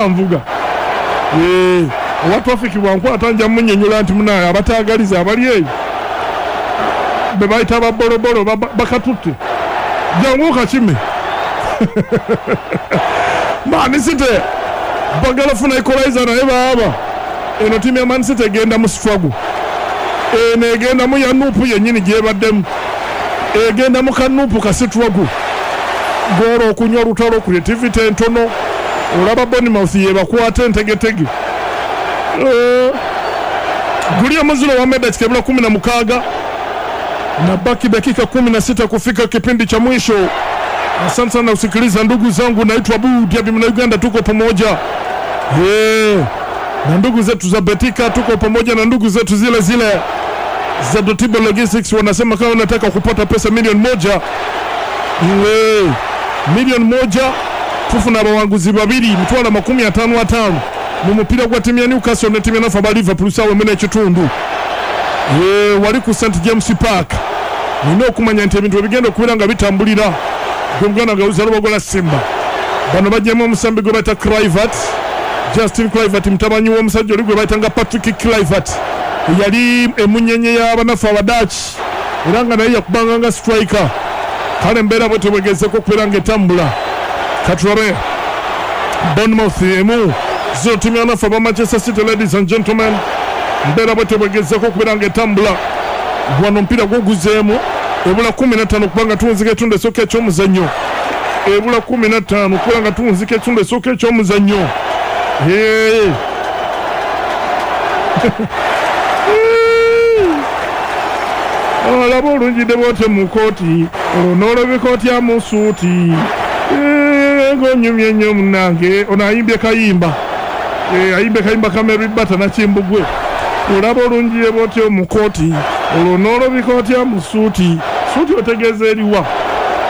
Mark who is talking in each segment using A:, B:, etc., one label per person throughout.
A: Nvuga owa traffic bwankwata nja munyonyola nti munaye abatagaliza abali eyo bebayita babolobolo bakatutte jangu okakime. Man City bagala funa equalizer, naye baaba eno tiimu ya Man City egenda mu struggle. Eno egenda mu ya NUP yennyini gyebaddemu, egenda mu ka NUP ka struggle, goolo okunywa olutalo, creativity entono. Olaba Bournemouth yebakwata entegetege. Guli omuziro wa dakika ebula 16 na baki dakika 16 kufika kipindi cha mwisho. Asante sana kusikiliza ndugu zangu, naitwa Abu Diaby na Uganda, tuko pamoja. Na ndugu zetu za Betika tuko pamoja na ndugu zetu zile zile za Dotibo Logistics, wanasema kama unataka kupata pesa 1,000,000, 1,000,000 tufuna abawanguzi babiri mitwalo 55 mu mupiira gwa timu ya Newcastle ne timu ya nafa ba Liverpool sawa mene ekitundu wali ku St James Park. Nina okumanya nti ebintu ebigenda okubeera nga bitambulira gwe muganda nga uzalwa Simba. Bano bajjemu omusambi gwe bayita Kluivert, Justin Kluivert, mutabani w'omusajja oli gwe bayita nga Patrick Kluivert, yali emunyenye y'abanafu Abadachi era nga naye yakubanga nga striker. Kale embeera bwe tebwegezeko okubeera nga etambula. Katulabe Bournemouth 1-0 timu y'abanafu aba Manchester City. Ladies and gentlemen, mbeera bwe tebwegezeko okubeera nga etambula. Wano omupiira gwoguzeemu, ebula 15 kubanga tuwunzika ekitundu esooka eky'omuzannyo, ebula 15 kubanga nga tuwunzika ekitundu esooka eky'omuzannyo. Olaba olunjidde bwote mu kooti, olwo n'olobeka otya mu suuti, ng'onyumye nnyo munnange. Ono ayimbye kayimba, ayimbye kayimba ka Mary Bata Nakimbugwe. Olaba olunjidde bwotyo mu kooti, olwo n'olobeka otya mu suuti. Suuti otegeeza eriwa?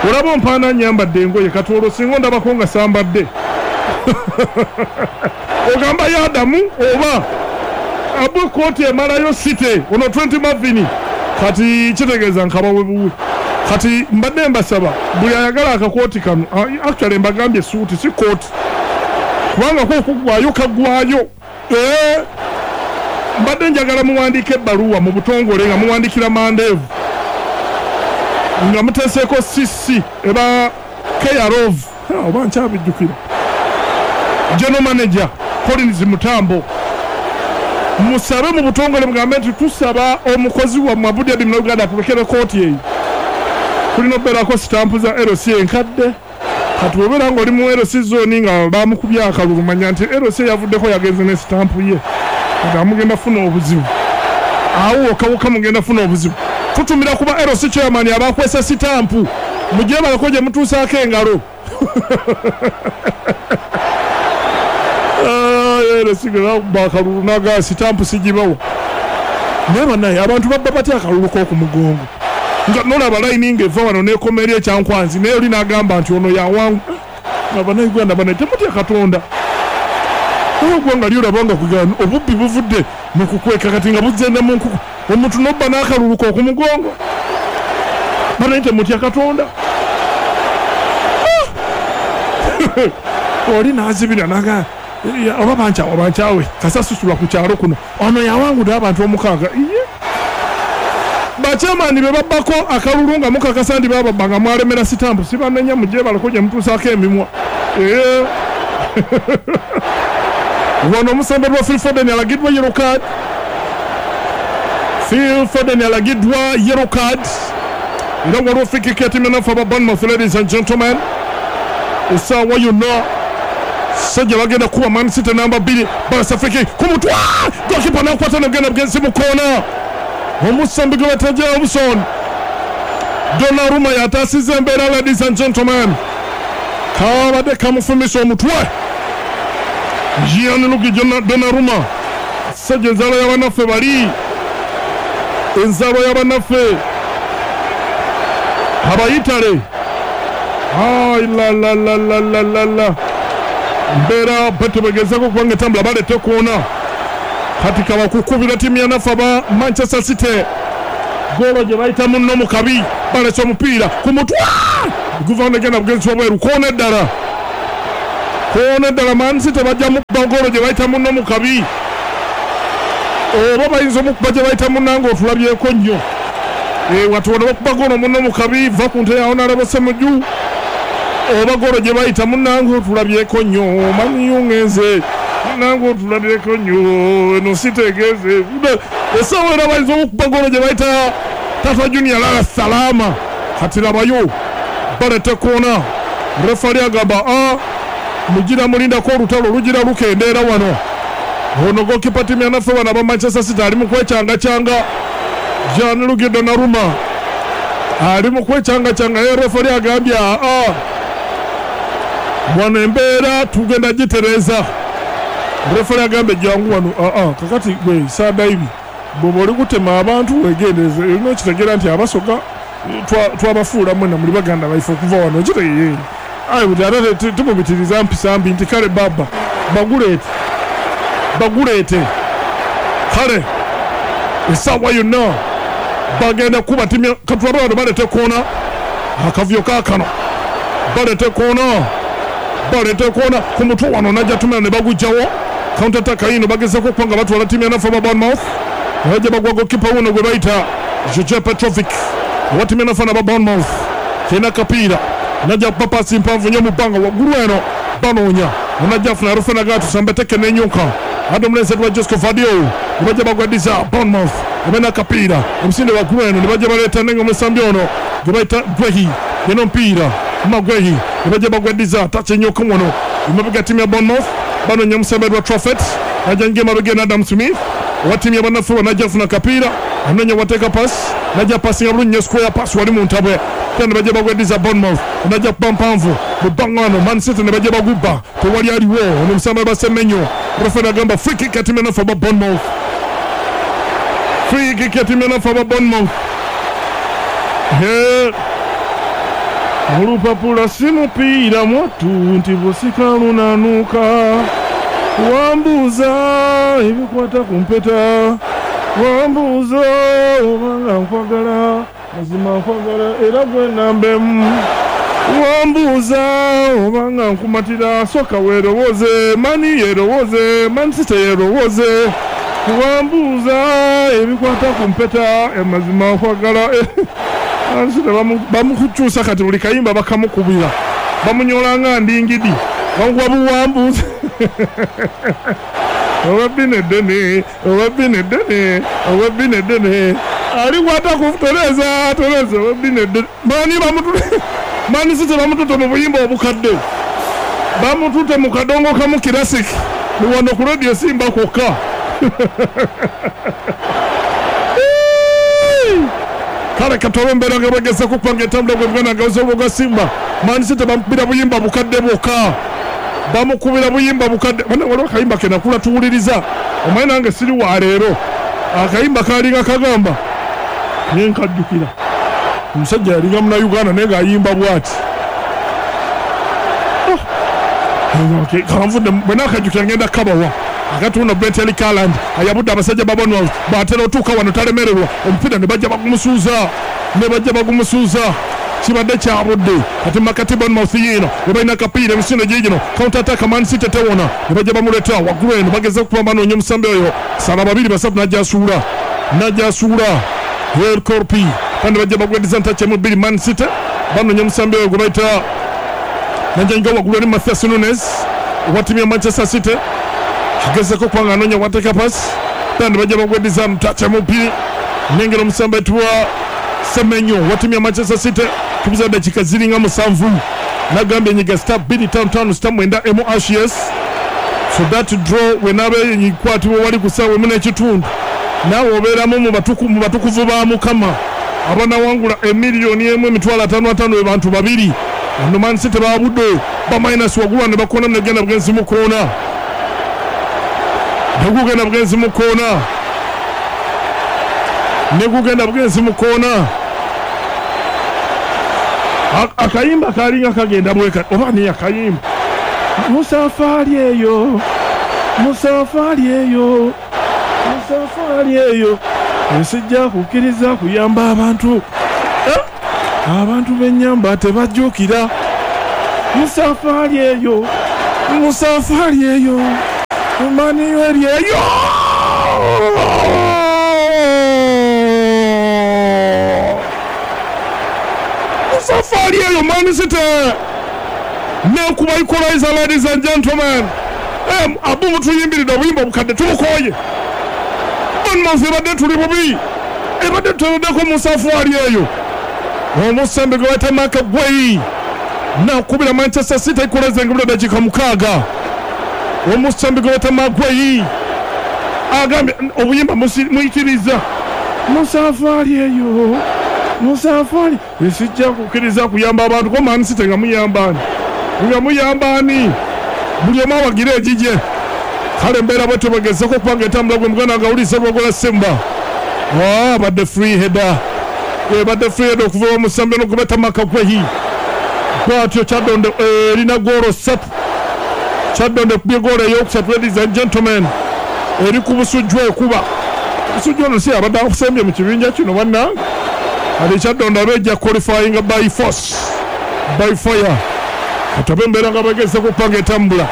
A: Olaba ompaana nyambadde engoye, kati olwo singa ondabako nga sambadde ogamba yadamu oba abu kooti emalayo City. Ono 20 Mavini kati kitegeeza nkabawe buwe. Kati mbadde mbasaba buli ayagala akakooti kano, actually mbagambye suuti si kooti, kubanga ko okuggwayo kaggwayo. Mbadde njagala muwandiike ebbaluwa mu butongole nga muwandikira Mandeevu nga muteeseeko CC eba Keyarov, oba nkyabijjukira, General Manager Collins Mutambo, musabe mu butongole mugambe nti tusaba omukozi wammwe Abu Diaby Uganda atulekere kooti eyo. Kulina okubeerako sitampu za LC enkadde. Kati bw'obeera ng'oli mu LC zone nga bamukubye akalulu, manya nti LC yavuddeko yagenze ne sitampu ye, kati amugenda funa obuzibu awo wokka mugenda funa obuzibu. Tutumira kuba LC chairman abakwesa sitampu, mugyebalako gye mutuusaako engalo. LC gwe akalulu naga sitampu sigibawo. Naye bannaye abantu babba batya akalulu k'oku mugongo? Nga nolaba layini ng'eva wano n'ekoma eri ekyankwanzi, naye oli n'agamba nti ono yawangu. Nga bannayuganda bannaye temutya Katonda. Eggwanga lyolaba nga kugana obubbi buvudde mu kukweka kati nga buzze mu nkuku, omuntu n'obba n'akalulu k'oku mugongo. Bannaye temutya Katonda. Oli n'azibira naga oba bankyawa bankyawe kasasusula ku kyalo kuno, ono yawangudde abantu 6. Iye bakyamani be babbako akalulu nga mukakasa nti bababba nga mwalemera sitampu, sibanenya mugyebalako gye mutuusaako emimwa. Wano omusembe lwa Phil Foden alagiddwa yellow card. Phil Foden alagiddwa yellow card, era waliwo free kick ya timu enafu aba Bournemouth. Ladies and gentlemen, essaawa yonna sajja bagenda kuba Man City namba 2. Balasa free kick ku mutwe, goalkeeper nakwata negenda bugenzi mu koona. Omusambi gwe bayita Jobson Donnarumma yataasiza embeera. Ladies and gentlemen, kabadde kamufumisa omutwe Gianluigi Donnarumma, sajja enzaalwa y'abannaffe bali, enzaalwa y'abannaffe abayitale. Ai la la la la la la la, mbeera batebegezako kubanga etambula baleete koona. Kati kabakukubira timu ya nafe aba Manchester City goolo gye bayita munno mu kabi. Balese omupiira ku mutwe guva negenda bugenzi wabweru, koona eddala. Koona ddala Man City bajja mukuba goolo gye bayita munno mu kabi. Oba bayinza omukuba gye bayita munnange otulabyeko nnyo. Wati wano bakuba goolo munno mu kabi, va ku nte ya Honorable Ssemujju. Oba goolo gye bayita munnange otulabyeko nnyo. Man U ngenze. Munnange otulabyeko nnyo. Eno sitegeeze. Essaawa era bayinza omukuba goolo gye bayita Tata Junior Lala Salama. Kati labayo baleta koona. Refali agamba a mugira mulindako olutalo lugira lukendeera wano. Ono goalkeeper ttiimu ya naffe bano aba Manchester City ali mu kwecangacyanga. Gianluigi Donnarumma ali mu kwecangacyanga ye refali agambye a wano embeera tugenda gitereeza. Refali agambye jangu wano a kakati gwe Sadaibi bw'oba oli kutema abantu wegendereze olina okitegeera nti abasoga twabafuula mwena muli baganda baife okuva wano okitegeera. Aye buti ate tumubitiriza mpisa mbi nti kale baba baguleete baguleete kale essaawa yonna bagenda kuba ttiimu katulabe wano baleete koona akavuyo kaakano baleete koona baleete koona ku mutwe wano najja tumira ne bagujjawo counter attack yino bagezaako okuba nga batwala ttiimu ya naffe aba Bournemouth bajja bagwa goalkeeper wuno gwe bayita Joje Petrovic owa ttiimu ya naffe aba Bournemouth kirina akapiira najja kuba paasi mpanvu nnyo mu bbanga waggulu eno banoonya onajja afuna Rufena Gatu teke n'enyuka ate omulenzi etwa Josco Vadio ne bajja bagwadiza Bournemouth ebena akapiira omusinde waggulu eno ne bajja baleeta nenga omusambi ono gwe bayita Gwehi yena omupiira Magwehi ne bajja bagwadiza tacha enyoka wano emabega ttiimu ya Bournemouth banoonya omusambi etwa Trafford najja nge emabega eno Adam Smith owa ttiimu ya bannaffe najja afuna akapiira anoonya wateeka paasi najja pasinga bulungi nnyo square pass wali mu ntabwe ne bajja bagwadiza Bournemouth najja kuba mpanvu mu bbanga wano Man City ne bajja bagubba tewali aliwo ono omusambi Basemenyo referee agamba free kick ya ttiimu ya naffe aba Bournemouth free kick ya ttiimu ya naffe aba Bournemouth. Olupapula si mupiira mwattu nti busika lunanuka wambuuza ebikwata ku mpeta wambuuza obanga nkwagala mazima nkwagala era gwe nambemu wambuuza obanga nkumatira soka weerowooze mani yerowooze Man City yerowooze wambuuza ebikwata ku mpeta amazima nkwagala. Man City bamukukyusa kati buli kayimba bakamukubira bamunyola nga ndingidi bamukuba buwambuuza oba bine ddene oba bine ddene oba bine ddene alikwata ku Tereza Tereza oba bine ddene mani bamutule Man City bamutute mu buyimba obukadde bamutute mu kadongo kamu classic ni wano ku radio Simba kwokka. Kale katolo mbeera nga bageza kupanga entambula gwe bwana nga ozoboga Simba Man City bamukubira buyimba bukadde bwokka bamukubira buyimba bukadde bana waliwo akayimba ke nakula tuwuliriza omanyi nange siri wa leero akayimba kalinga kagamba naye nkajjukira omusajja yalinga Munnayuganda naye ng'ayimba bw'ati kanvudde bwe naakajjukira ngenda kabawa akatunda Brent Erling Haaland ayabudde abasajja ba Bournemouth bw'atera otuuka wano talemererwa omupiira ne bajja bagumusuuza ne bajja bagumusuuza kibadde kyabudde kati makati Bournemouth yiino ne balina akapiira emisinde giigino counter attack Man City tewona ne bajja bamuleeta waggulu eno bageze okuba banoonya omusambi oyo sala babiri basatu najja asuula najja asuula Hel Corpi kandi bajja bagwediza ntakyemu bbiri Man City banoonya omusambi oyo gwe bayita najja waggulu eri Matheus Nunes owa ttiimu ya Manchester City agezeko okuba nga anoonya wateeka paasi kandi bajja bagwediza ntakyemu bbiri nengera omusambi etwa Semenyo wa ttiimu ya Manchester City tubuza dakika ziringa 7 nagambye nyiga star 255 star 9 MHS so that draw wenabe nyikwatibwa wali ku ssaawa emu n'ekitundu naawe obeeramu mu batukuvu ba Mukama abanawangula emiliyoni emu emitwalo ataano ataano bantu babiri ono Man City babudde ba minus waggulu ne bakoona negenda bugenzi mu koona negugenda bugenzi mu koona negugenda bugenzi mu koona akayimba kalinga kagenda bweka oba ni akayimba musafari eyo musafari eyo musafari eyo nsijja kukkiriza kuyamba abantu abantu b'ennyamba tebajjukira musafari eyo Musafari eyo Man U eri eyo. Musafari eyo Man City nekuba equalizer, ladies and gentlemen. Abu mutuyimbiridde obuyimba obukadde tubukooye. Bournemouth ebadde tuli bubi, ebadde tuteereddeko musafari eyo. Omusambi gwe bayita Marc Guehi nakubira Manchester City equalizer ng'ebula dakiika 6. Omusambi gwe bayita Marc Guehi agambye obuyimba muyitiriza musafari eyo, musafari esijja kukkiriza kuyamba abantu ko Man City nga muyamba ani, buli omu awagira egigye. Kale embeera bwe tubagezeko okubanga etambula gwe muganda nga awuliriza Lubogola Simba. Abadde free header, ebadde free header okuva omusambi ono gwe bayita Marc Guehi. Bw'atyo Kyaddondo erina goolo 3. Kyaddondo ekubye goolo eyokusatu, ladies and gentlemen, eri ku Busujju ekuba. Busujju ono si abadde akusembye mu kibinja kino bannange. Kati Kyaddondo abeejja qualifying by force, by fire. Kati abe embeera nga bagezeko okubanga etambula.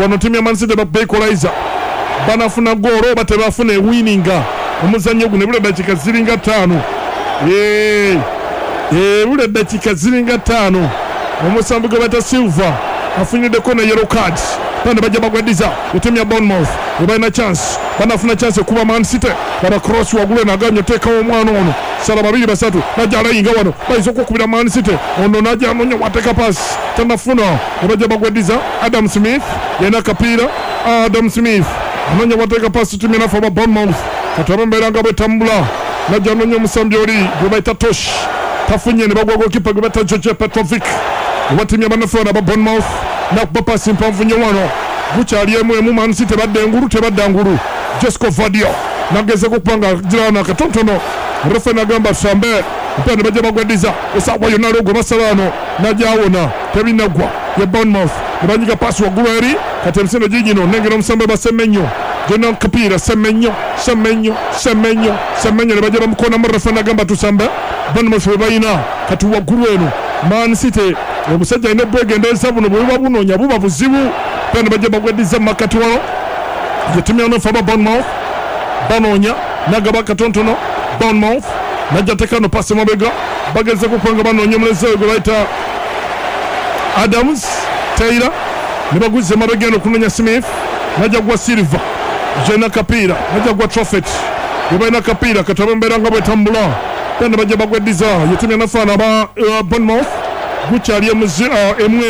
A: Wano ttiimu ya Man City bakuba equalizer, banafuna goolo oba tebafuna ewininga omuzannyo guno. Ebula eddakiika ziringa 5. Ebula eddakiika ziringa 5. Omusambi gwe bayita Silva afunyiddeko ne yellow card. Bano bajja bagweddiza ettiimu ya Bournemouth ebalina chance, banafuna chance ekuba Man City. Laba cross waggulu eno, aganye oteekawo omwana ono, sala 2 3, najja alayinga wano, bayinza okukubira Man City. Ono najja anoonya wateeka pass, tanafuna, ne bajja bagweddiza. Adam Smith yalina akapiira, Adam Smith anoonya wateeka pass, ttiimu yanafe aba Bournemouth. Kati aba embeera nga bwetambula, najja anoonya omusambi oli gwe bayita Tosh, tafunye, ne bagwa goalkeeper gwe bayita George Petrovic owa ttiimu y'abannaffe bano aba Bournemouth. Nakuba pasi mpanvu nnyo wano, gukyali emu emu. Man City tebadda engulu, tebadda ngulu. Josko Gvardiol nagezeko okuba nga girana katonotono, refa nagamba tusambe mpira, ne bajja bagweddiza. Esaawa yonna aliwo gwe basala wano, najawona, tebinaggwa ye Bournemouth, ne banyiga pasi waggulu eri. Kati emisendo gigino, nengera omusambi basemenyo gyonna kapiira, Semenyo, Semenyo, Semenyo, Semenyo, ne bajja bamukonamu, refa nagamba tusambe. Bournemouth bwe balina kati waggulu eno. Man City omusajja alina obwegendereza, buno bwe buba bunoonya buba buzibu. Pera ne bajja bagweddiza mu makkati wano ye ttiimu ya nofa aba Bournemouth banoonya, nagaba katonotono. Bournemouth najja tekano pasi mabega, bagezeko kubanga banoonya omulezi oyo gwe bayita Adams Taylor, ne baguza emabega eno okunoonya Smith, najja gwa Silva gyalina kapiira, najja gwa Trofet gwe balina kapiira. Kati embeera nga bwetambula, era ne bajja bagweddiza ye ttiimu ya nafaana aba Bournemouth. Gukyali emu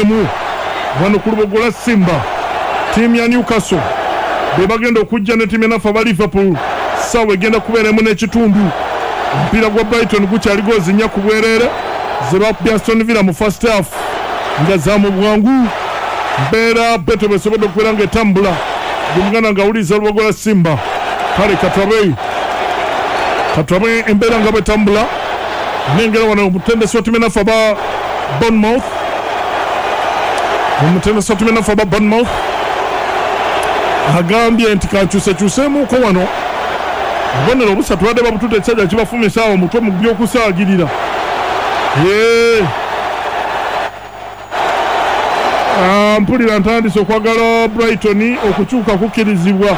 A: emu wano ku Lubogola Simba. Ttiimu ya Newcastle be bagenda okujja ne ttiimu ya naffe aba Liverpool, ssaawa egenda kubeera 1.5. Omupiira gwa Brighton gukyali goozi 4 ku bwereere ze bakubye Aston Villa mu first half nga za mu bwangu. Mbeera beto besobodde okubeera ng'etambula gwe muganda ng'awuliriza Lubogola Simba. Kale katulabe embeera nga bwetambula. Nengera wano omutendesi wa ttiimu ya naffe aba Bournemouth, omutendesi wa ttiimu ya naffe aba Bournemouth agambye nti kankyusekyuseemuko wano. Obubonero obusatu badde babutudde, ekisajja kibafumisa awo omutwe mu by'okusaagirira. Mpulira ntandise okwagala Brighton okukyuka kukkirizibwa.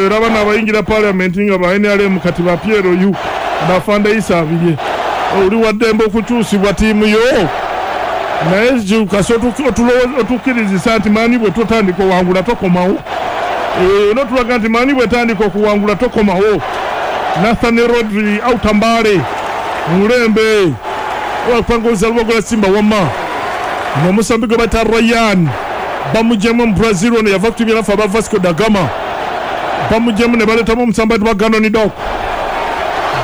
A: Olaba n'abayingira parliament nga ba NRM kati ba PLU bafanda Isabirye, oli waddembe okukyusibwa ttiimu yo, naye kasi otukkirizisa nti Man U bwe totandika owangula tokomawo, notulaga nti Man U bwetandika okuwangula tokomawo. Nathan Rodri Autambale mulembe wapanguza Lubogola Simba wamma n'omusambi gwe bayita Ryan bamugyemu mu Brazil ono yava ku ttiimu yaffe aba Vasco da Gama, bamugyemu ne baleetamu omusambi ayitibwa Ganon Dok,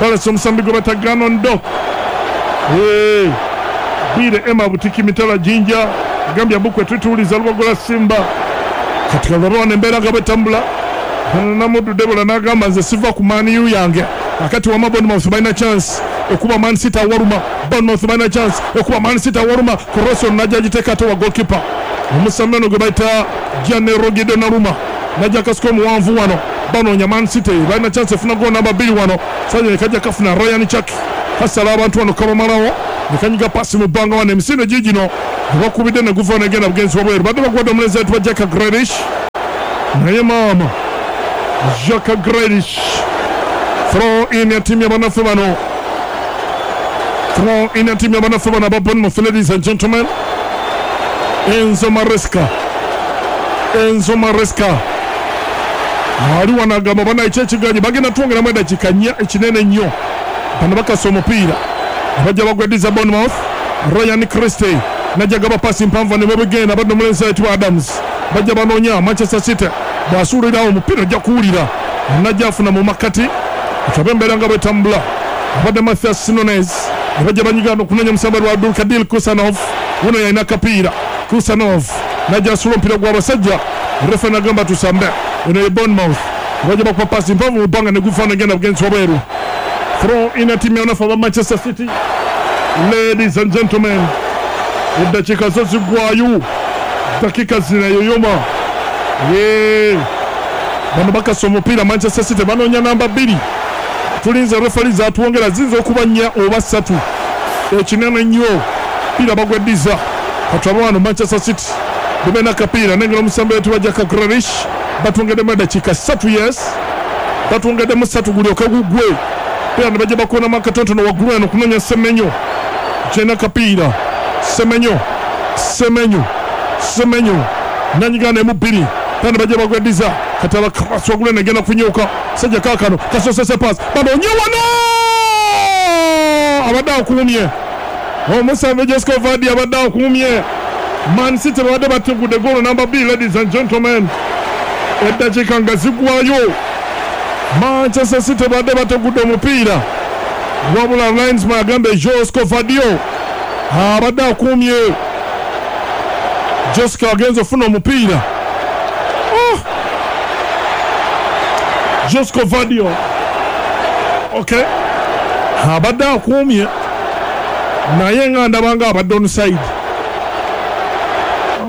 A: balese omusambi gwe bayita Ganon Dok. Bwire Emma Butiki Mitala Jinja agambye Bukwe tutuuliza Lubogola Simba. Kati kalaba wano embeera nga bwetambula. Namuddu Debola n'agamba nze siva ku Man U yange. Akati wama Bournemouth balina chance ekuba Man City awaluma, Bournemouth balina chance ekuba Man City awaluma. Cross ono najja agiteeka ate wa goalkeeper omusambi ono gwe bayita Gianluigi Donnarumma, najja akasiko omuwanvu wano, banoonya Man City balina chance efuna goal namba 2 wano. Sajja kajja kafuna Ryan Cherki, kasala abantu wano kabamalawo. Nekanyiga pasi mu bbanga wano emisinde giigino bakubidde ne guva negenda bugenzi wabweru. Badde bakuwadde omulenzi ayitibwa Jack Grealish, naye maama Jack Grealish. Throw in ya timu ya bannaffe bano, throw in ya timu ya bannaffe bano aba Bournemouth. Ladies and gentlemen, Enzo Maresca, Enzo Maresca ali wano agamba bana ekyekiganyi bagenda twongeramu eddakiika nnya ekinene nnyo. Bano bakasa omupiira abajja bagweddiza Bournemouth. Ryan Christie najja gaba pasi mpanvu ne bwebigenda badde omulenzi ayitibwa Adams, bajja banoonya Manchester City. Bw'asuulirawo omupiira ojja kuwulira, najja afuna mu makkati tulabe embeera nga bwetambula. Abadde Mathias Nunes, abajja banyigana okunoonya omusambi lwa Abdulkadir Kusanov, wuno yalina akapiira. Kusanov najja asula omupiira gw'abasajja, refa nagamba tusambe. Eno ye Bournemouth, bajja bakuba pasi mpanvu mu bbanga ne gufaana genda bugenzi wabweru. Throw in ya timu ya banafu aba Manchester City. Ladies and gentlemen, eddakiika zo ziggwayo, dakika zinayoyoma. Ye bano bakasa omupiira Manchester City banoonya namba 2. Tulinze refari zatwongera ziyinza okuba 4 oba 3, ekinene nnyo. Piira bagweddiza katulabe wano Manchester City bebena akapiira nengera omusambi ayitibwa Jack Grealish. Batwongeddemu eddakiika 3, yes, batwongeddemu 3 gulyoke gugwe. Pira ne bajja bakonamu akatonotono waggulu eno kunoonya Semenyo, kyalina akapiira Semenyo, Semenyo, Semenyo nanyigana emu 2. Pira ne bajja bagweddiza kati abakasi waggulu eno egenda kunyuka. Sajja kaakano kasosese paasi banonye wano abadde akuumye omusambi Josko Vardy abadde akuumye. Man City babadde bategudde goolo namba 2. Ladies and gentlemen, eddakiika nga ziggwayo, Manchester City babadde bategudde omupiira, wabula linesman agambe Josko Vardy abadde akuumye. Josko agenze ofuna omupiira. Oh! Josko Vardy, okay, abadde akuumye naye nga ndaba nga abadde onside.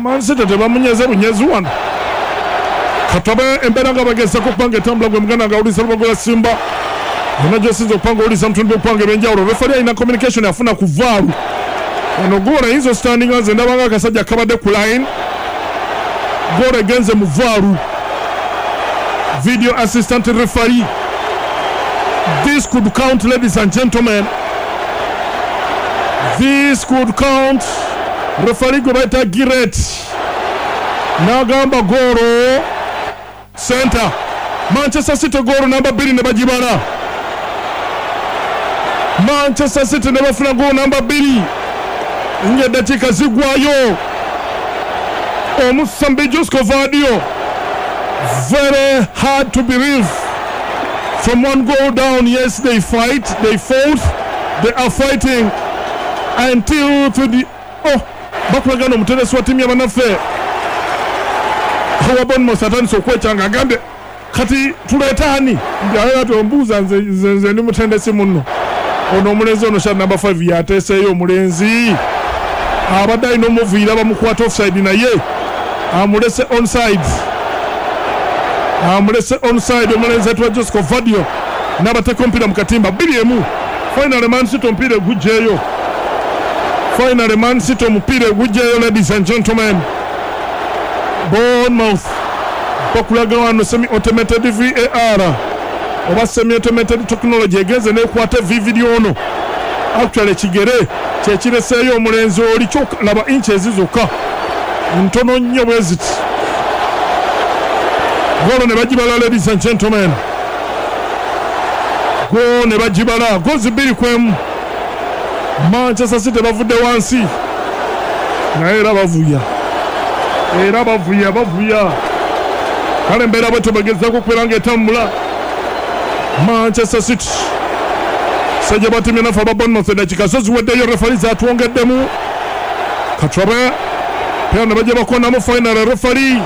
A: Man City tebamunyeze bunyezi wano. Katabe embeera nga bagezaako okupanga etambula gwe muganda nga awuliriza Lubago lwa Simba yonna gy'osinza okupanga owuliriza mutundu gw'okupanga ebyenjawulo. Refari alina communication afuna ku VAR. Ono goolo ayinza ositandinga, nze ndaba nga akasajja kabadde ku line. Goolo egenze mu VAR, video assistant referee. This could count, ladies and gentlemen, this could count. Referee gwe bayita Giret n'agamba goolo center. Manchester City goolo namba 2 ne bagibala. Manchester City ne bafuna goolo namba 2 ng'eddakiika ziggwayo. Omusambi Josko Vardy, very hard to believe. From one goal down, yes, they fight, they fought, they are fighting until to the oh, bakulagana omutendesi wa ttiimu y'abannaffe owa Bournemouth atandise okwekyanga agambye kati tuleeta ani? Ati ombuuza nze ndi mutendesi munno. Ono omulenzi ono sha namba 5 yateeseeyo omulenzi abadde alina omuviira bamukwata offside, naye amulese onside, amulese onside omulenzi ayitibwa Josko Vardy n'abateeka omupiira mu katimba 2-1. Finally Man City omupiira egujjeeyo. Finally Man City omupiira egujjeeyo. Ladies and gentlemen, Bournemouth bakulaga wano semi automated VAR oba semi automated technology egenze nekwata video ono. Actually ekigere kyekireseeyo omulenzi oli kyokka laba inches zokka ntono nnyo bwe ziti. Goolo ne bagibala, ladies and gentlemen, goolo ne bagibala, goals 2-1. Manchester City bavudde wansi naye era bavuya, era bavuya, bavuya. Kale embeera bwetyo bagezaako okubeera ng'etambula. Manchester City sajja batimye naffe aba Bournemouth eddakiika zo ziweddeyo, refari zatwongeddemu. Katulabe pera ne bajja bakonamu final refari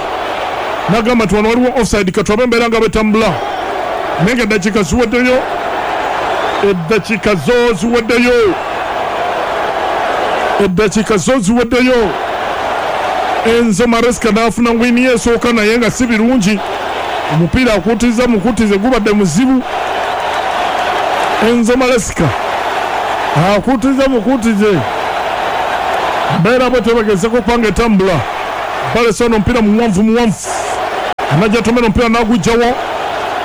A: nagamba nti wano waliwo offside. Katulabe embeera nga bwetambula naye nga eddakiika ziweddeyo, eddakiika zo ziweddeyo, eddakiika zo ziweddeyo. Enzo Maresca n'afuna wini esooka naye nga si birungi. Omupiira akutiza mukutize gubadde muzibu. Enzo Maresca Akutize mukutize mbeera bwe tebagezeko okubanga etambula. Balese ono omupiira muwanvu muwanvu, anajja atomera omupiira n'agugjawo,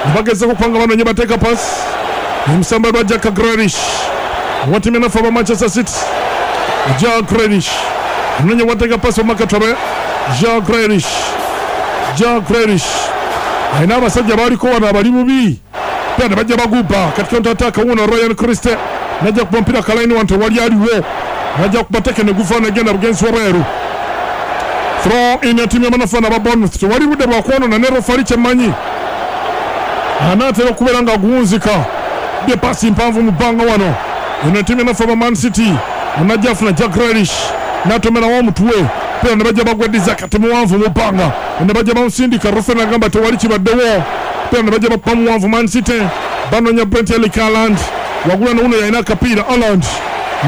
A: nebagezeko okubanga banonye bateeka pasi omusamba lwa Jack Grealish owa ttiimu enafu aba Manchester City. Jack Grealish anonye wateeka pasi omakatobe. Jack Grealish, Jack Grealish alina abasajja baliko wano abali bubi, pia ne bajja bagubba kati counter attack. Wuno Ryan Christie najja kuba omupiira kalaini wano, tewali aliwo, najja kuba teke ne guva negenda bugenzi wabweru. Throw in ya ttiimu y'abanafu aba Bournemouth. Tewali budde bwakwonona ne refari kyemmanyi anaatera okubeera nga aguwunzika. Bye pasi mpanvu mu bbanga wano. Eno ttiimu y'abanafu aba Man City, anajja afuna Jack Grealish n'atomerawo omutwe pera ne bajja bagweddiza kati muwanvu mu bbanga ne bajja bamusindika. Referee nagamba tewali kibaddewo, pera ne bajja bakuba muwanvu. Man City banonya Brent Erling Haaland wagula ne wuno yalina akapiira. Haaland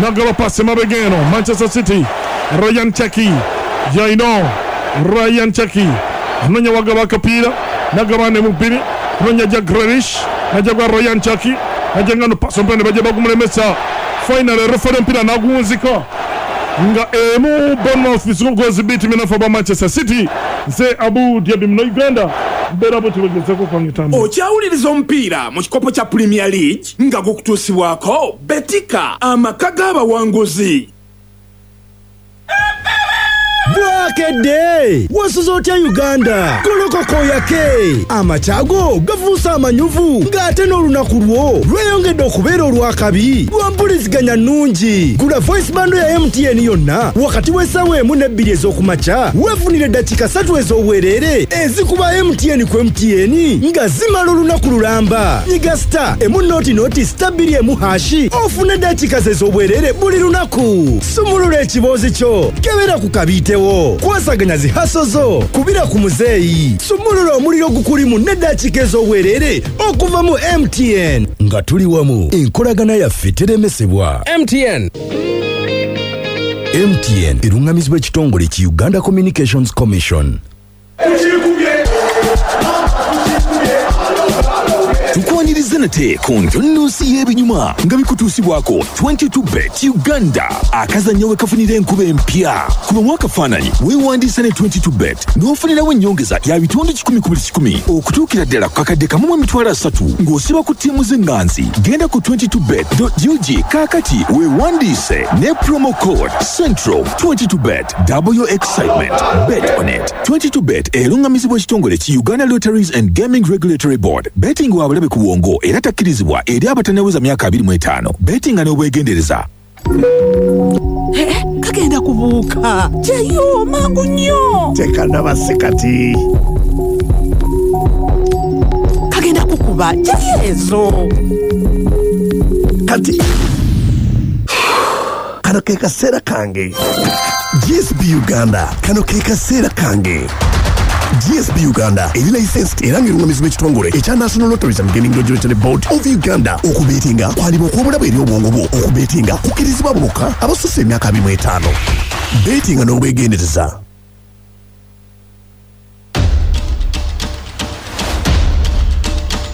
A: nagaba pasi emabega eno Manchester City. Ryan Cherki yaino, Ryan Cherki anonya wagaba akapiira nagaba ne mubiri anonya Jack Grealish najja gwa Ryan Cherki najja ngano pasi omupiira ne bajja bagumulemesa. Finally referee omupiira naguwunzika nga emu Bournemouth goals bbiri tiimu enafu aba Manchester City. Nze Abu Diaby muno Uganda mbeera bwe tubagezeko kwanga etambula.
B: Okyawuliriza omupiira mu kikopo kya Premier League nga gukutuusibwako Betika, amaka g'abawanguzi.
C: Bwakedde wasuze otya Uganda? Golokoka oyake, amakya go gafuuse amanyuvu ng'ate n'olunaku lwo lweyongedde okubeera olwakabi lwa mpuliziganya nnungi. Gula voice bundle ya MTN yonna wakati w'essaawa 1 ne 2 ez'okumakya, weefunire eddakiika 3 ez'obwereere ezikuba MTN ku MTN nga zimala olunaku lulamba. Nyiga star 1 0 0 star 2 1 hash ofune eddakiika ze ez'obwereere buli lunaku. Sumulula ekiboozi kyo, kebera ku kabiitewo, kwasaganya zi hustle zo, kubira ku muzeeyi, sumulula omuliro gukulimu n'eddakiika ez'obwereere okuva mu MTN. Nga tuli wamu, enkolagana yaffe teremesebwa.
D: MTN.
C: MTN erungamizibwa ekitongole ki Uganda Communications Commission.
E: Tukwaniriza nate ku ntunnunsi y'ebinyuma nga bikutuusibwako 22 Bet Uganda, akazannyo we kafunira enkuba empya. Kubamu akafaananyi weewandiisa ne 22 Bet n'ofunirawo ennyongeza ya bitundu 1 ku buli 100 okutuukira ddala ku kakadde 1 30,000 ng'osiba ku ttiimu z'eŋŋanzi. Genda ku 22bet.ug kaakati weewandiise ne promo code central. 22 Bet, double your excitement, bet on it. 22 Bet erungamizibwa ekitongole ki Uganda Lotteries and Gaming Regulatory Board. Betting wa bulabe ku bwongo era takkirizibwa eri abatannaweza myaka 25. Bettinga n'obwegendereza.
F: Kagenda kubuuka gyeyo mangu nnyo.
G: Tekanaba kati.
F: Kagenda kukuba gyeyo ezo.
G: Kati kano ke kaseera kange. GSB Uganda, kano ke kaseera kange. GSB Uganda eri licensed era ng'erungamizibwa ekitongole ekya National Lotteries and Gaming Regulatory Board of Uganda. Okubeetinga kwaliba okw'obulabe eri obwongo bwo. Okubeetinga kukkirizibwa abo bokka abasussa emyaka 25. Beetinga n'obwegendereza.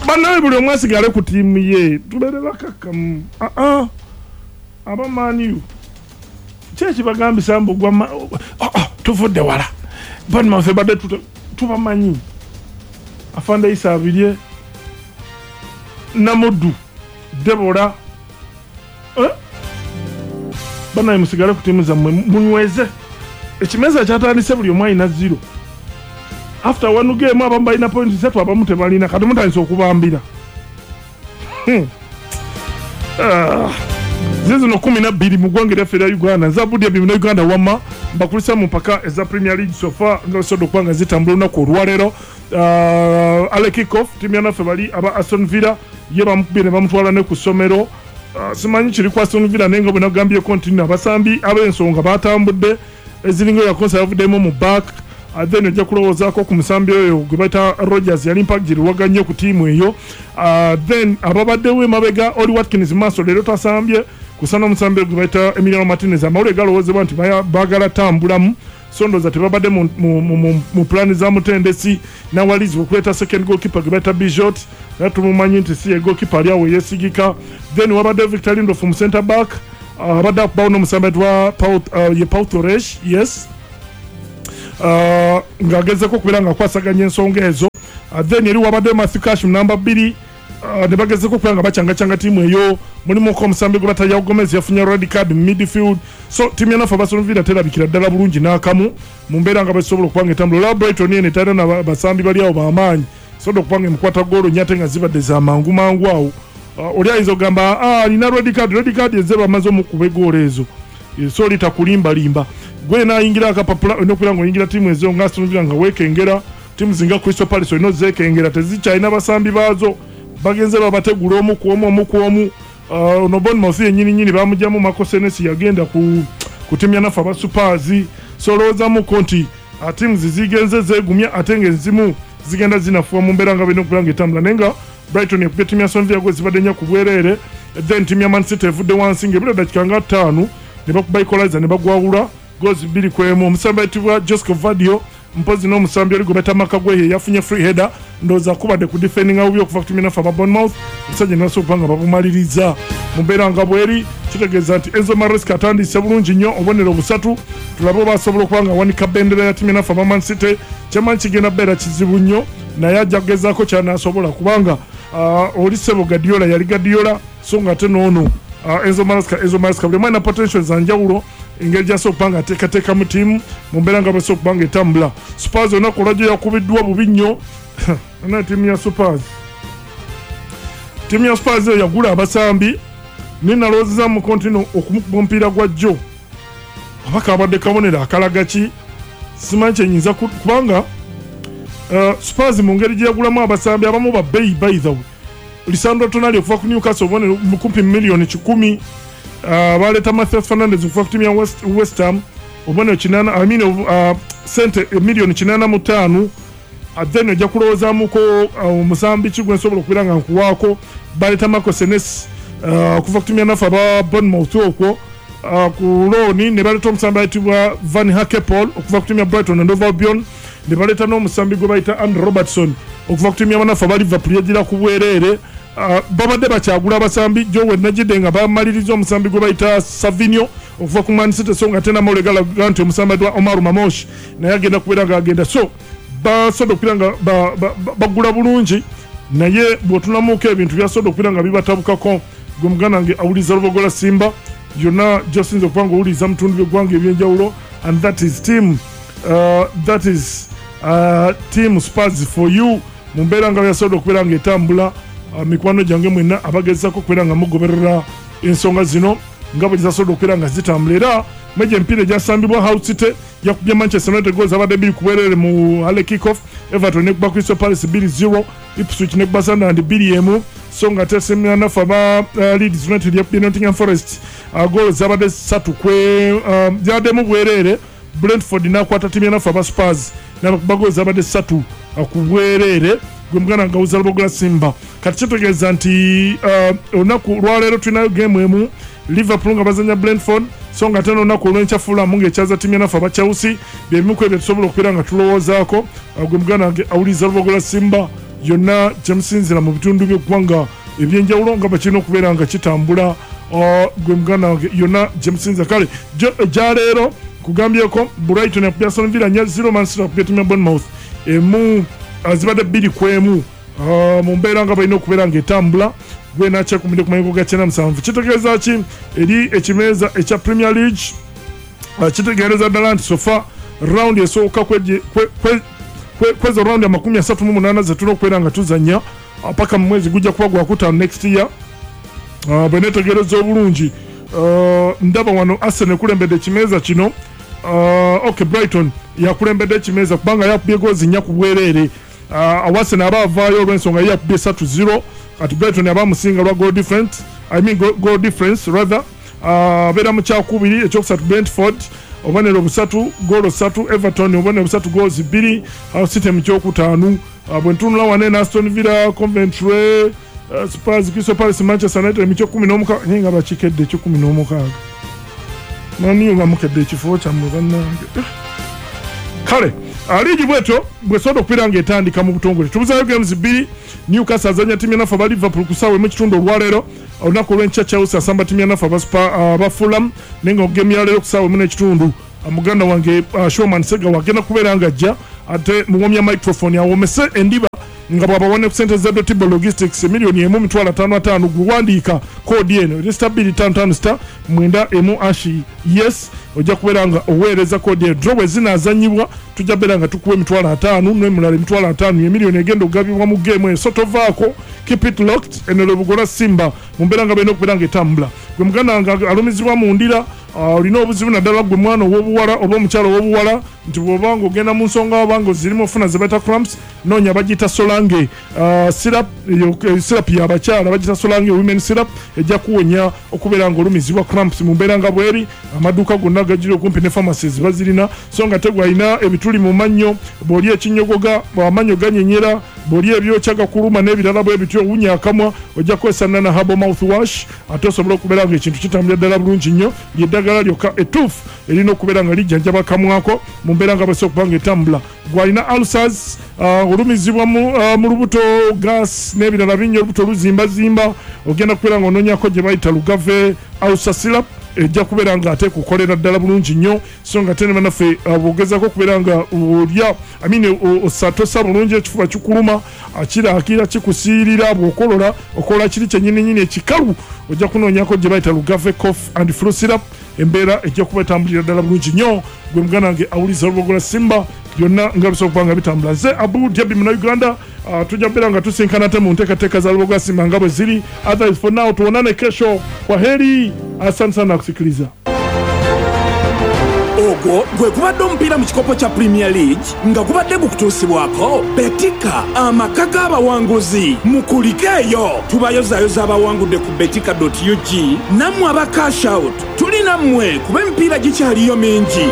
A: Bannawe, buli omu asigale ku ttiimu ye, tubeere bakakkamu. Aa, aba Man U ki ekibagambisa mbu gwa tuvudde wala? Bournemouth badde tubamanyi. Afande Isa Abirye, Namuddu Debora, eh? Bannawe, musigale ku ttiimu zammwe, munyweze ekimeza kyatandise. Buli omu alina 0 after one game. Abamu balina point 3, abamu tebalina. Kati mutandise okubambira. Ah. Zizino 12 mu ggwanga eryaffe erya Uganda. Nze Abudya na Uganda, wamma mbakulisa mu mpaka eza Premier League so far nga bisobodde okuba nga zitambula olunaku olwaleero. Early kickoff, ttiimu yanaffe bali aba Aston Villa ye bamukubye ne bamutwala ne ku ssomero. Simanyi kiri ku Aston Villa, naye nga bwe nagambyeko nti nno abasambi ab'ensonga batambudde, eziringa yakonsa yavuddemu mu back. Then ojja kulowoozaako ku musambi oyo gwe bayita Rogers, yali mpagiriwaga nnyo ku ttiimu eyo. Then ababaddewo emabega, Oli Watkins maaso leero tasambye kusana omusambi gwe bayita Emiliano Martinez. Amawulire galowoozebwa nti baagala tambulamu, so ndowooza tebabadde mu pulaani za mutendesi nawalizibwa okuleeta second goalkeeper gwe bayita Bijot, naye tumumanyi nti si ye goalkeeper ali awo yeesigika. Then wabadde Victor Lindelof mu center back. Abadde akubawo n'omusambi ayitibwa ye Pau Torres, yes, ng'agezeko okubeera nga akwasaganya ensonga ezo. Then eri wabaddeyo Matthew Cash mu namba 2, ne bagezeko okubeera nga bacyangacanga ttiimu eyo. Mulimuko omusambi gwe bata Gomez, yafunye red card mu midfield. So ttiimu ya nafe Aston Villa terabikira ddala bulungi n'akamu mu mbeera nga basobola okuba nga etambula. Olaba Brighton eno etalina na basambi bali awo b'amaanyi, sobola okuba nga emukwata goolo nnya ate nga zibadde za mangu mangu awo. Oli ayinza okugamba, "Ah, alina red card." Red card ezze bamaze omukuba egoolo ezo. So oli takulimbalimba gwe naayingira akapapula. Olina okubeera nga oyingira ttiimu ezo nga Aston Villa nga weekengera. Ttiimu zinga Crystal Palace olina ozeekengera, tezikyalina basambi baazo, bagenze babategula omu ku omu, omu ku omu. Ono Bournemouth yennyini nyini bamugyamu Marco Senesi, yagenda ku ttiimu ya naffe aba Spurs. So olowoozamuko nti ttiimu zizigenze zeegumya, ate ng'ezimu zigenda zinafuwa mu mbeera nga balina okubeera nga etambula. Naye nga Brighton ekubye ttiimu ya Aston Villa gwe zibadde nnya ku bwereere. Then ttiimu ya Man City evudde wansi ng'ebula eddakiika nga 5 ne bakuba equalizer ne bagwawula goals 2-1. Omusambi ayitibwa Josko Gvardiol mpozi n'omusambi oli gwe bayita Marc Guehi yafunye free header, ndowooza kubadde ku defendinga bubi okuva ku ttiimu naffe aba Bournemouth, omusajja ne basobola okuba nga babumaliriza mu mbeera nga bweri. Kitegeeza nti Enzo Maresca atandise bulungi nnyo, obubonero busatu. Tulabe oba asobola okuba nga awanika bendera ya ttiimu naffe aba Man City. Kyemanyi kigenda kubeera kizibu nnyo, naye ajja kugezaako kyanaasobola, kubanga oli sebo Guardiola yali Guardiola, so nga ate noono Enzo Maresca, Enzo Maresca. Buli mwana potential za njawulo, engeri gyasobola okuba nga ateekateeka mu ttiimu mu mbeera nga basobola okuba nga etambula. Spurs olunaku olwajjo yakubiddwa bubi nnyo na ttiimu ya Spurs. Ttiimu ya Spurs eyo yagula abasambi, naye nalowoozeza mu kontino okumukuba omupiira gwa jjo oba kabadde kabonero akalaga ki, simanyi kyenyinza kubanga Spurs mu ngeri gye yagulamu abasambi abamu ba bbeeyi. By the way, Lisandro Tonali okuva ku Newcastle, obubonero kumpi miliyoni 100. Baleeta Mathias Fernandes okuva ku ttiimu ya West Ham, obubonero 80, I mean, sente miliyoni 85. Then ojja kulowoozaamuko omusambi ki gwe nsobola okubeera nga nkuwaako. Baleeta Marco Senesi okuva ku ttiimu ya naffe aba Bournemouth okwo ku looni, ne baleeta omusambi ayitibwa Van Hakepool okuva ku ttiimu ya Brighton and Hove Albion, ne baleeta n'omusambi gwe bayita Andy Robertson okuva ku ttiimu y'abanafu aba Liverpool, yagira ku bwereere. Babadde bakyagula abasambi jowe najidde nga bamaliriza omusambi gwe bayita Savinho okuva ku Man City, so nga ate namawulire galaga nti omusambi ayitibwa Omar Marmoush naye agenda kubeera nga agenda. So basobodde okubeera nga bagula bulungi, naye bw'otunamuuka ebintu byasobodde okubeera nga bibatabukako. Gwe muganda wange awuliriza Lubogola Simba yonna gyosinza okuba nga owuliriza mu bitundu by'eggwanga ebyenjawulo, and that is team that is team Spurs for you mu mbeera nga yasobodde okubeera nga etambula. Mikwano gyange mwenna abagezaako okubeera nga mugoberera ensonga zino nga bwe zisasobodde okubeera nga zitambula, era mwegyo emipiira egyasambibwa, Hull City yakubye Manchester United goals abadde 2-0 mu early kickoff. Everton nekuba Crystal Palace 2-0, Ipswich nekuba Sunderland 2-1, so nga ate nafe aba Leeds United yakubye Nottingham Forest goals zabadde 3 kwe zabaddemu bwereere. Brentford nakwata ttiimu yanafe aba Spurs nabakuba goals zabadde 3-0. Gwe muganda nga wuza Lubogola Simba, kati kitegeeza nti olunaku lwaleero tulinayo game emu, Liverpool nga bazanya Brentford, so nga ate n'olunaku olw'enkya Fulham ng'ekyaza ttiimu yanafe aba Chelsea. Byebimu ku ebyo tusobola okubeera nga tulowoozaako. Gwe muganda wange awuliriza Lubogola Simba yonna gyemusinzira mu bitundu by'eggwanga ebyenjawulo nga bwe kirina okubeera nga kitambula, gwe muganda wange yonna gyemusinzira. Kale gyaleero kugambyeko Brighton yakubye Aston Villa 4-0, Man City yakubye ttiimu ya Bournemouth emu, zibadde 2-1 mu mbeera nga balina okubeera ng'etambula. Gwe nakyekumidde ku mayengo ga 97, kitegeeza ki eri ekimeeza ekya Premier League? Kitegeereza ddala nti so far round esooka kwezo round 38 zetulina okubeera nga tuzanya paka mu mwezi gujja kuba gwakutaano next year. Bwe netegereza obulungi, ndaba wano Arsenal ekulembedde ekimeeza kino. Ok, Brighton yakulembedde ekimeeza kubanga yakubye goozi 4-0. Arsenal aba avaayo olw'ensonga ye yakubye 3-0. Kati Brighton aba amusinga lwa goal different, I mean goal difference rather. Abeera mu kyakubiri. Ekyokusatu Brentford, obubonero busatu, goolo ssatu. Everton obubonero busatu, goals bbiri. Hull City mu kyokutaano. Bwe ntunula wane ne Aston Villa, Coventry, Spurs, Crystal Palace, Manchester United mu kyokumi n'omukaaga, naye nga bakikedde ekyokumi n'omukaaga. Maniyo nga mukedde ekifo kyammwe bannange. Kale liigi bwetyo bwesobola okubeera ng'etandika mu butongole. Tubuzayo games bbiri. Newcastle azanya ttiimu yanafe aba Liverpool ku ssaawa emu kitundu olwaleero. Olunaku olw'enkya Chelsea asamba ttiimu ya naffe aba Fulham, naye nga ogemu ya leero ku ssaawa 1:30 muganda wange Showman Segawa agenda kubeera nga ajja ate muwomya microphone awomese endiba nga bw'abawa ne ku ssente za Dotibo Logistics 1,550,000. Gwewandiika koodi eno eri star 255 star 91 hash, yes, ojja kubeera nga oweereza koodi eno. Draw bwe zinaazannyibwa tujja beera nga tukuwa 50,000 n'emulala 50,000, emiliyoni egenda okugabibwa mu geemu eyo. So tovaako, keep it locked. Eno Lubugola Simba mu mbeera nga balina okubeera nga etambula. Gwe muganda wange alumizibwa mu ndira, olina obuzibu naddala gwe mwana ow'obuwala oba omukyala ow'obuwala, nti bw'oba nga ogenda mu nsonga oba nga ozirimu ofuna ze bayita cramps, noonya bagiyita Solange syrup. Eyo syrup y'abakyala bagiyita Solange Women Syrup, ejja kuwonya okubeera nga olumizibwa cramps mu mbeera nga bweri. Amaduuka gonna gagiri okumpi ne pharmacies bazirina. So nga tegwe alina ebituli mu mannyo, bw'oli ekinyogoga amannyo ganyenyera, bw'oli ebyokya gakuluma n'ebirala bwe bityo, owunya akamwa, ojja kukozesa Nana Herbal Mouthwash ate osobola okubeera nga ekintu kitambulira ddala bulungi nnyo. Lyeddagala lyokka ettuufu erina okubeera nga lijjanjaba akamwako mu mbeera nga bwesobola okuba nga etambula. Gwalina ulcers, olumizibwa mu lubuto, gas n'ebirala bingi, olubuto luzimbazimba, ogenda kubeera nga onoonyako gye bayita Lugave Ulcer Syrup, ejja kubeera nga ate kukolera ddala bulungi nnyo. So nga ate ne bannaffe bw'ogezaako okubeera nga olya, I mean, osatosa bulungi, ekifuba kikuluma, kiraakira kikusiirira, bw'okolola okola kiri kyennyininyini ekikalu, ojja kunoonyako gye bayita Lugave Cough and Flu Syrup, embeera ejja kuba etambulira ddala bulungi nnyo. Gwe muganda wange awuliza Olubogola Simba, byonna nga bisobola okuba nga bitambula. Nze Abu Jabi Munauganda, tujja kubeera nga tusinkana ate mu nteekateeka za Lubogola Simba nga bwe ziri. Otherwise for now tuonane kesho. Kwa heri, asante sana kusikiliza.
B: Ogwo gwe gubadde omupiira mu kikopo kya Premier League nga gubadde gukutuusibwako Betika, amaka g'abawanguzi. Mukulike eyo, tubayozaayoza abawangudde ku betika.ug. Nammwe aba cash out tuli nammwe kuba emipiira gikyaliyo mingi.